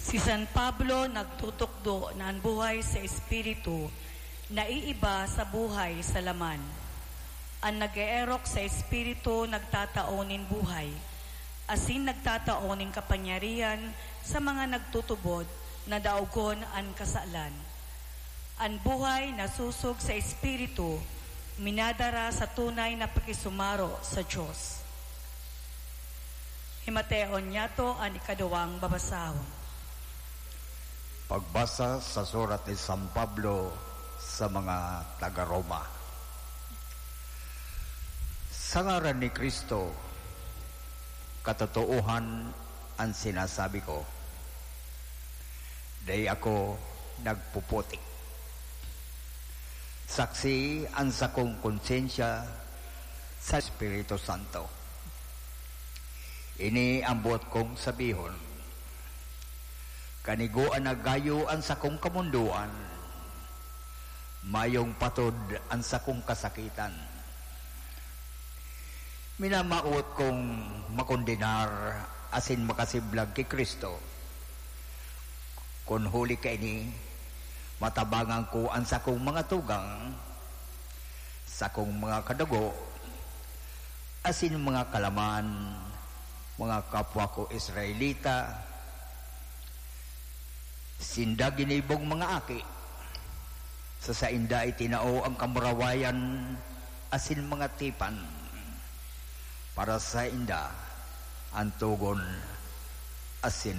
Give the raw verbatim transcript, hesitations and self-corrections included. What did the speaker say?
Si San Pablo nagtutukdo na an buhay sa espiritu naiiba sa buhay sa laman. An nag-eerok sa espiritu nagtatao nin buhay, asin nagtatao nin kapangyarihan sa mga nagtutubod na daogon an kasalan. An buhay na sosog sa espiritu minadara sa tunay na pakisumaro sa Dios. Himateon niyato an ikaduwang babasahon. Pagbasa sa surat ni San Pablo sa mga taga-Roma. Sa ngaran ni Cristo, katotoohan an sinasabi ko. Dai ako nagpuputik. Saksi an sakong konsyensya sa Espiritu Santo. Ini an boot kong sabihon. Kanigoan na gayo an sakong kamondoan, mayong patod an sakong kasakitan. Minamawot kong makondenar asin makasiblag ki Cristo. Kun huli kaini, matabangan ko an sakong mga tugang, sakong mga kadugo, asin mga kalaman, mga kapwa ko Israelita, sinda ginibong mga aki, sa sainda itinao ang kamurawayan asin mga tipan. Para sainda, an togon asin